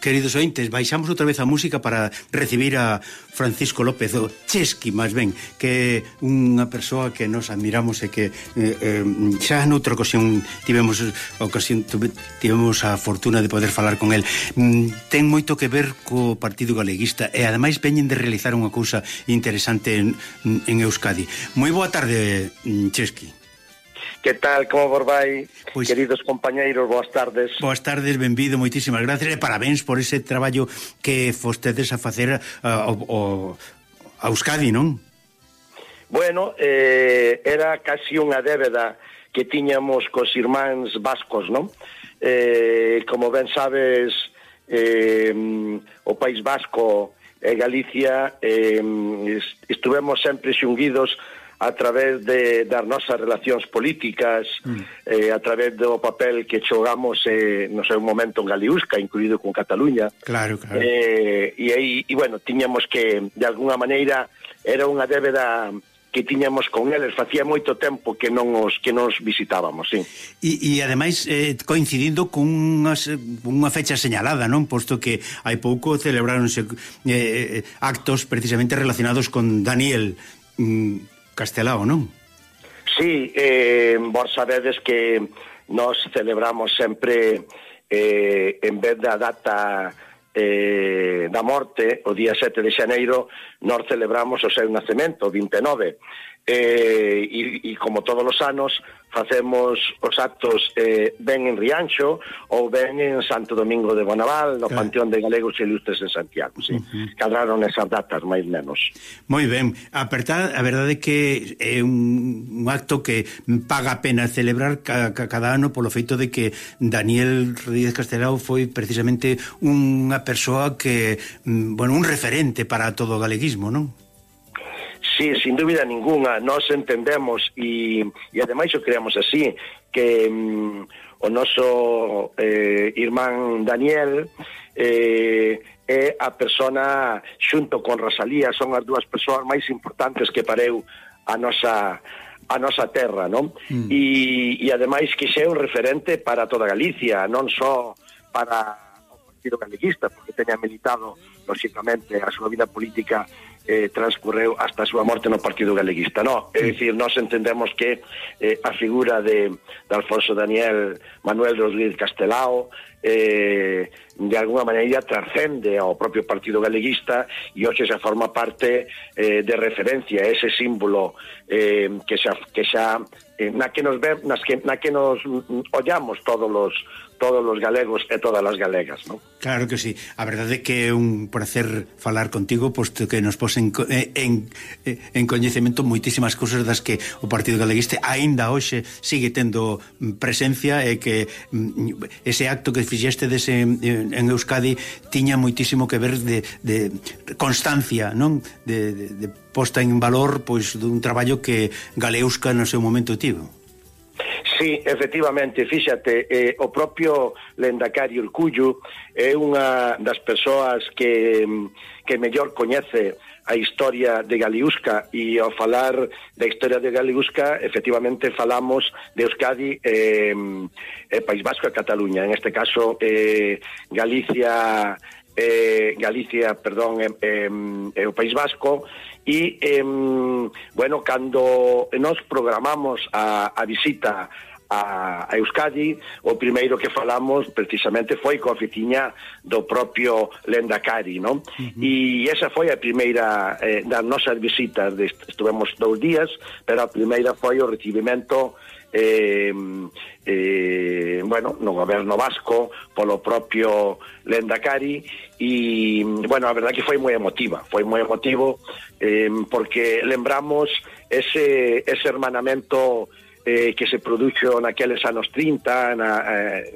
Queridos ointes, baixamos outra vez a música para recibir a Francisco López, o Chesky, máis ben, que é unha persoa que nos admiramos e que xa noutra ocasión tivemos a fortuna de poder falar con el. Ten moito que ver co Partido Galeguista e ademais veñen de realizar unha cousa interesante en Euskadi. Moi boa tarde, Chesky. Que tal, como vos vai, pois, queridos compañeiros, boas tardes. Boas tardes, benvido, moitísimas gracias e parabéns por ese traballo que fostedes a facer a Euskadi, non? Bueno, era casi unha débeda que tiñamos cos irmáns vascos, non? Como ben sabes, o País Vasco e Galicia estuvemos sempre xunguidos a través das nosas relacións políticas, a través do papel que xogamos no seu momento en Galiusca, incluído con Cataluña. Claro. E bueno, tiñamos que, de alguna maneira, era unha débeda que tiñamos con eles, facía moito tempo que non nos visitábamos, sí. E ademais coincidindo con unha fecha señalada, non? Posto que hai pouco celebráronse actos precisamente relacionados con Daniel Castelao, non? Sí, vos sabedes que nos celebramos sempre en vez da data da morte, o día 7 de xaneiro, nos celebramos o seu nacemento, o 29. E como todos os anos facemos os actos ben en Rianxo ou ben en Santo Domingo de Bonaval, no Panteón de Galegos e Ilustres en Santiago, sí. Cadraron esas datas, máis menos. Moi ben, a verdade é que é un acto que paga a pena celebrar cada ano polo feito de que Daniel Rodríguez Castelao foi precisamente unha persoa que, bueno, un referente para todo o galeguismo, non? Sí, sin dúbida ninguna, nós entendemos e ademais o creamos así, que o noso irmán Daniel é a persona, xunto con Rosalía, son as dúas persoas máis importantes que pareu a nosa terra, non? E ademais que xa é un referente para toda Galicia, non só para o Partido Galeguista, porque teña militado, lógicamente, a súa vida política transcorreu hasta a súa morte no Partido Galeguista, no? É dicir, nós entendemos que a figura de Alfonso Daniel Manuel Rodríguez Castelao de alguna maneira trascende ao propio Partido Galeguista e hoxe xa forma parte de referencia, ese símbolo que xa na que nos ollamos todos os galegos e todas as galegas, non? Claro que sí. A verdade é que é un placer falar contigo, posto que nos pos en coñecemento moitísimas cousas das que o Partido Galeguista aínda hoxe sigue tendo presencia e que ese acto que fixeste en Euskadi tiña moitísimo que ver de constancia, non? De posta en valor, pois, dun traballo que Galeusca no seu momento tivo. Sí, efectivamente, fíxate, o propio Lendakari Urkullu é unha das persoas que mellor coñece a historia de Galiusca, e ao falar da historia de Galiusca, efectivamente falamos de Euskadi País Vasco e Cataluña, en este caso Galicia, perdón, o País Vasco. E, bueno, cando nos programamos a visita a Euskadi, o primeiro que falamos precisamente foi coa oficiña do propio Lendakari, non? E esa foi a primeira das nosas visitas, estuvemos 2 días, pero a primeira foi o recibimento bueno, no goberno vasco polo propio Lendakari. E, bueno, a verdade que foi moi emotivo porque lembramos ese hermanamento que se produxo naqueles anos 30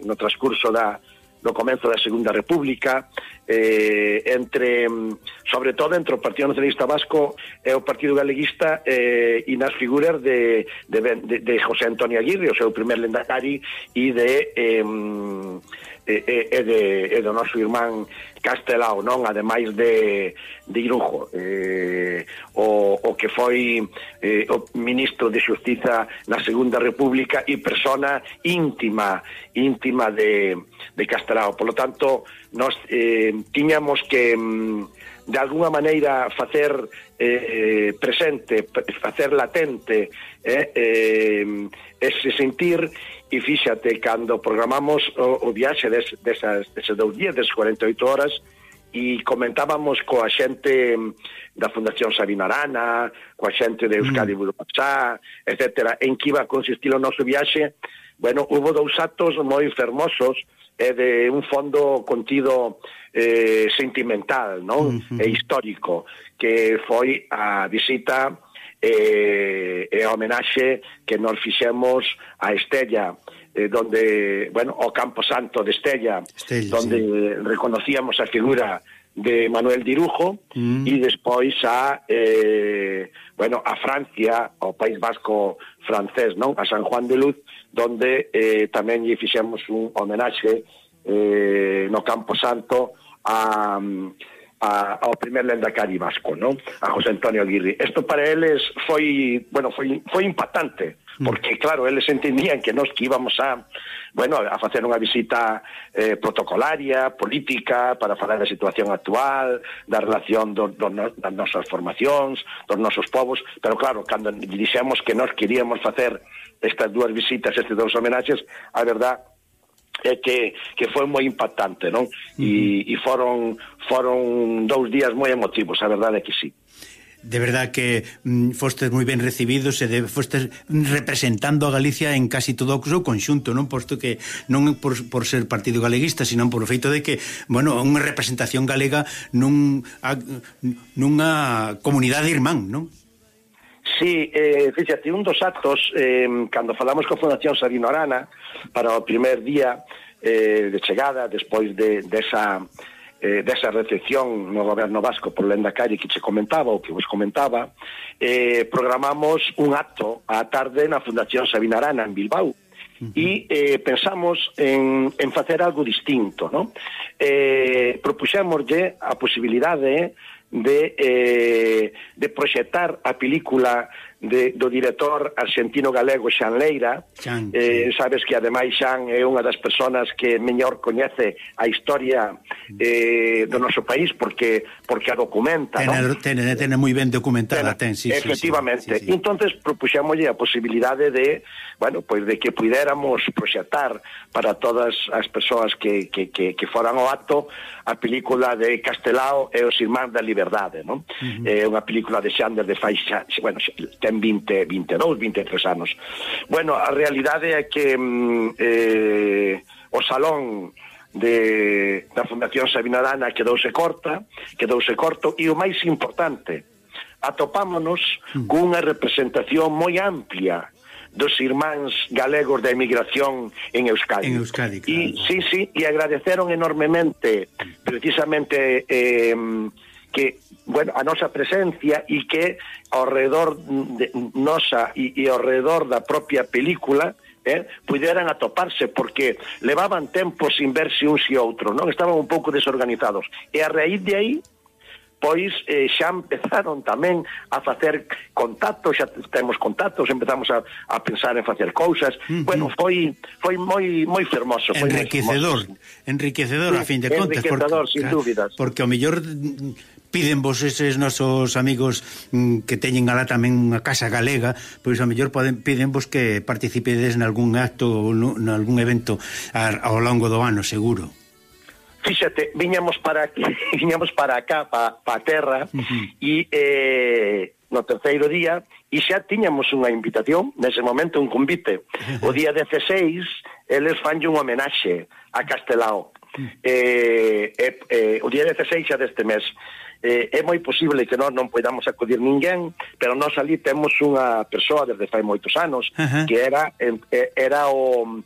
no transcurso do comenzo da Segunda República, sobre todo entre o Partido Nacionalista Vasco e o Partido Galeguista, e nas figuras de José Antonio Aguirre, o seu primer Lendakari, e do noso irmán Castelao, non? Ademais de Irujo, o que foi o ministro de Xustiza na Segunda República e persona íntima de Castelao. Por lo tanto, nos tiñamos que de alguna maneira facer presente, facer latente ese sentir. E fíxate, cando programamos o viaxe deses 2 días, des 48 horas, e comentábamos coa xente da Fundación Sabino Arana, coa xente de Euskadi Budapachá, etcétera, en que iba a consistir o noso viaxe. Bueno, hubo 2 actos moi fermosos de un fondo contido sentimental, non? E histórico, que foi a visita e a homenaxe que nos fixemos a Estella, donde, bueno, o Campo Santo de Estella, donde reconocíamos a figura de Manuel Dirujo, e despois a Francia, ao País Vasco francés, non? A San Juan de Luz, donde tamén lle fixemos un homenaxe no Campo Santo ao primer lendakari vasco, non? A José Antonio Aguirre. Isto para eles foi impactante, porque claro, eles entendían que nós que íbamos a facer unha visita protocolaria, política, para falar da situación actual, da relación das nosas formacións, dos nosos povos, pero claro, cando dixemos que nós queríamos facer estas 2 visitas, estes 2 homenaxes, a verdad é que foi moi impactante, non? E foron 2 días moi emotivos, a verdade é que sí. De verdad que fostes moi ben recibidos e fostes representando a Galicia en casi todo o seu conxunto, non? Posto que non por ser partido galeguista, sino por o feito de que, bueno, unha representación galega nunha comunidade irmán, non? Sí, fíxate, un dos actos, cando falamos con Fundación Sabino Arana, para o primer día de chegada, despois desa recepción no goberno vasco por Lendakari que che comentaba, ou que vos comentaba, programamos un acto á tarde na Fundación Sabino Arana en Bilbao, e pensamos en facer algo distinto, non? Propuxémoslle a posibilidade de proxectar a película do director argentino-galego Xan Leira. Sabes que ademais Xan é unha das persoas que mellor coñece a historia do noso país porque a documenta, non? Tene moi ben documentada, efectivamente. Entonces propuxémoslle a posibilidade de que puidéramos proxectar para todas as persoas que foran ao acto a película de Castelao e os Irmáns da Liberdade, non? É unha película de Xander de fai, ten 22, 23 anos. Bueno, a realidade é que o salón da Fundación Sabino Arana quedouse corto, e o máis importante, atopámonos cunha representación moi amplia dos irmáns galegos da emigración en Euskadi. Claro. E agradeceron enormemente precisamente que, a nosa presencia, e que ao redor nosa e ao redor da propia película puderan atoparse, porque levaban tempo sin verse uns e outros, non? Estaban un pouco desorganizados, e a raíz de aí pois xa empezaron tamén a facer contactos, xa temos contactos, empezamos a pensar en facer cousas. Bueno, foi moi fermoso, foi enriquecedor a fin de contas, enriquecedor, sin dúbidas, porque ao mellor piden vos eses nosos amigos que teñen alá tamén unha casa galega, pois ao mellor piden vos que participedes nalgún acto ou nalgún evento ao longo do ano, seguro. Fíxate, viñamos para acá, para a terra, e no terceiro día, e xa tiñamos unha invitación, nese momento un convite. O día 16, eles fanlle un homenaxe a Castelao. O día 16 xa deste mes. É moi posible que nós non podamos acudir ninguén, pero nós ali temos unha persoa desde fai moitos anos, que era o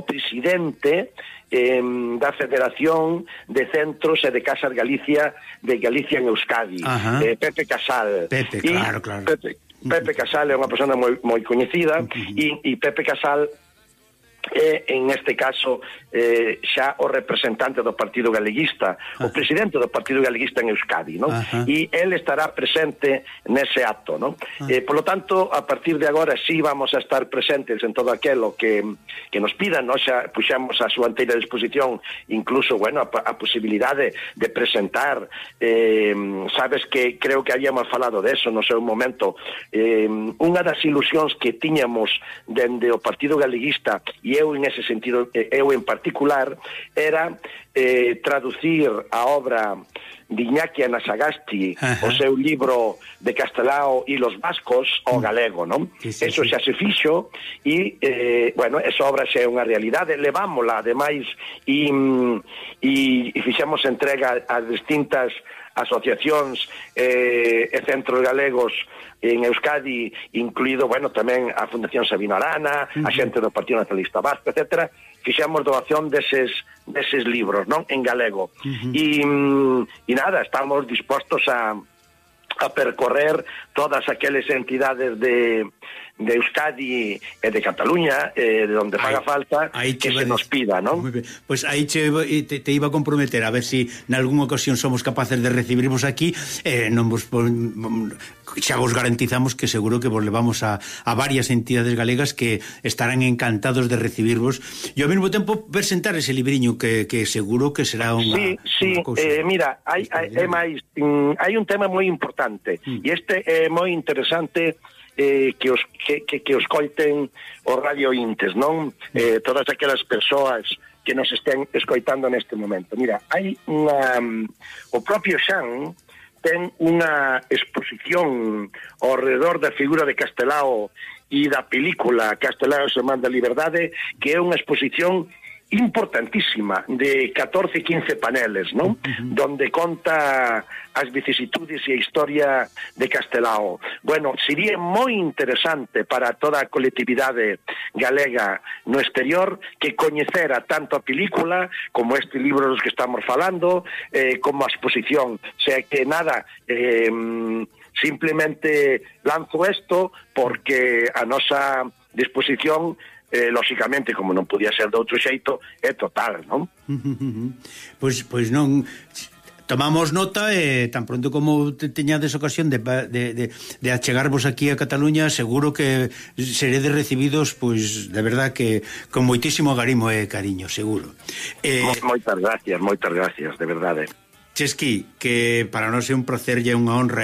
presidente da Federación de Centros e de Casas Galicia de Galicia en Euskadi, Pepe Casal. Claro. Pepe Casal é unha persona moi coñecida, e Pepe Casal e en este caso xa o representante do Partido Galeguista, o presidente do Partido Galeguista en Euskadi, ¿no? E él estará presente nese acto, ¿no? Por lo tanto, a partir de agora sí vamos a estar presentes en todo aquelo que nos pidan, ¿no? Xa puxamos a súa anteira disposición, incluso, bueno, a posibilidade de presentar, sabes que creo que habíamos falado de eso no seu momento, unha das ilusións que tiñamos dende o Partido Galeguista, e eu en ese sentido, eu en particular, era traducir a obra de Iñaki Anasagasti, o seu libro de Castelao e los vascos ao galego, non? Eso xa se fixo e, bueno, esa obra xa é unha realidade, levámola, ademais, e fixemos entrega a distintas asociacións e centros galegos en Euskadi, incluído, bueno, tamén a Fundación Sabino Arana, a xente do Partido Nacionalista Vasco, etcétera. Fixemos doación deses libros, non? En galego. E nada, estamos dispostos a percorrer todas aqueles entidades de Euskadi e de Cataluña, de donde faga falta, que se nos pida, non? Pois aí te iba a comprometer a ver si nalgúna ocasión somos capaces de recibirvos aquí, non vos xa vos garantizamos que seguro que vos levamos a varias entidades galegas que estarán encantados de recibirvos e ao mesmo tempo presentar ese libriño que seguro que será unha cousa. Mira, hai un tema moi importante e este é moi interesante que os coiten os radiointes, non? Todas aquelas persoas que nos estén escoitando neste momento. Mira, hai o propio Xan ten unha exposición ao redor da figura de Castelao e da película Castelao e Semana da Liberdade, que é unha exposición importantísima de 14-15 paneles, ¿no? Donde conta as vicisitudes e a historia de Castelao. Bueno, sería moi interesante para toda a colectividade galega no exterior que coñecera tanto a película como este libro dos que estamos falando, como a exposición. O sea que nada, simplemente lanzo isto porque a nosa disposición lóxicamente, como non podía ser de outro xeito, é total, non? Pois non tomamos nota e tan pronto como teñades ocasión de achegarvos aquí a Cataluña, seguro que seredes recibidos, pois, de verdad que con moitísimo agarimo e cariño, seguro. Moitas gracias, de verdade. Chesqui, que para nós é un placer e unha honra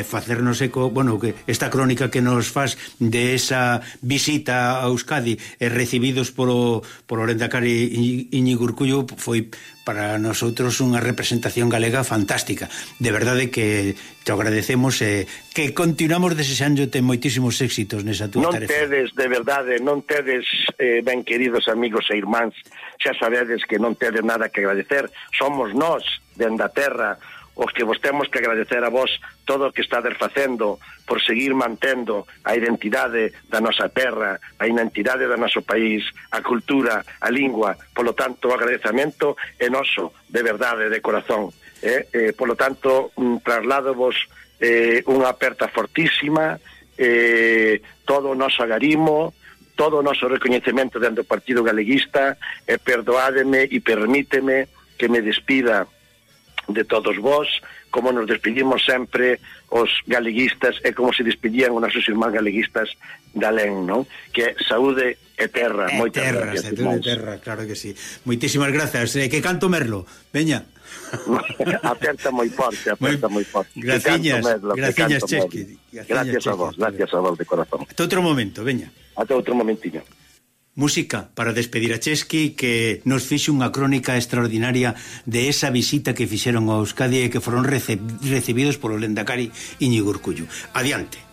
facernos eco, bueno, que esta crónica que nos faz de esa visita a Euskadi recibidos por o Lehendakari Íñigo Urkullu foi para nosotros unha representación galega fantástica. De verdade que te agradecemos e que continuamos desexándote moitísimos éxitos nesa túa tarefa. Non tedes, de verdade, non tedes, ben queridos amigos e irmáns, xa sabedes que non tedes nada que agradecer. Somos nós, dende a terra, os que vos temos que agradecer a vos todo o que estades facendo por seguir mantendo a identidade da nosa terra, a identidade do noso país, a cultura, a lingua. Polo tanto, o agradecemento é noso, de verdade, de corazón. Polo tanto, trasladovos unha aperta fortísima, todo o noso agarimo, todo o noso recoñecemento dentro do Partido Galeguista, e perdoádeme e permíteme que me despida de todos vós, como nos despedimos sempre os galeguistas e como se despedían os nosos irmáns galeguistas de alén, non? Que saúde e terra. Moitas gracias. Terra, claro que sí. Moitísimas grazas. Que canto Merlo. Veña. Aperta moi forte. Graciñas, Chesqui. Gracias a vos de corazón. Ata outro momento, veña. Ata outro momentiño. Música para despedir a Chesqui, que nos fixe unha crónica extraordinaria de esa visita que fixeron a Euskadi e que foron recibidos polo Lehendakari Íñigo Urkullu. Adiante.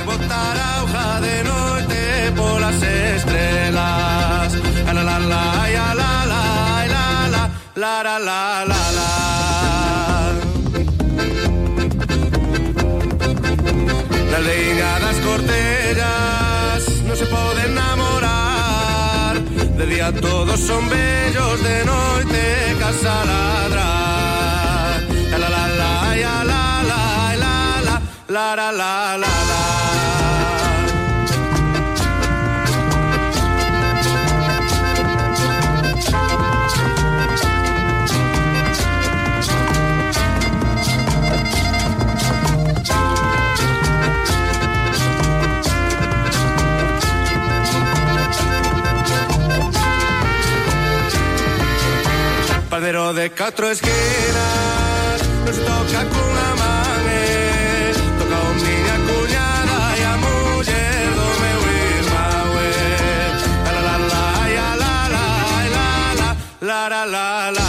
Botar a hoja de noite polas estrelas. La la la la la la la la la la la. La leiga das cortellas non se pode enamorar. De día todos son bellos, de noite casa ladrar. La la la la la la la la la la la. Pero de catro esquinas nos toca cunha man, toca o miña cuñada e a muller do meu irmão, la la la la la la la la la la la la.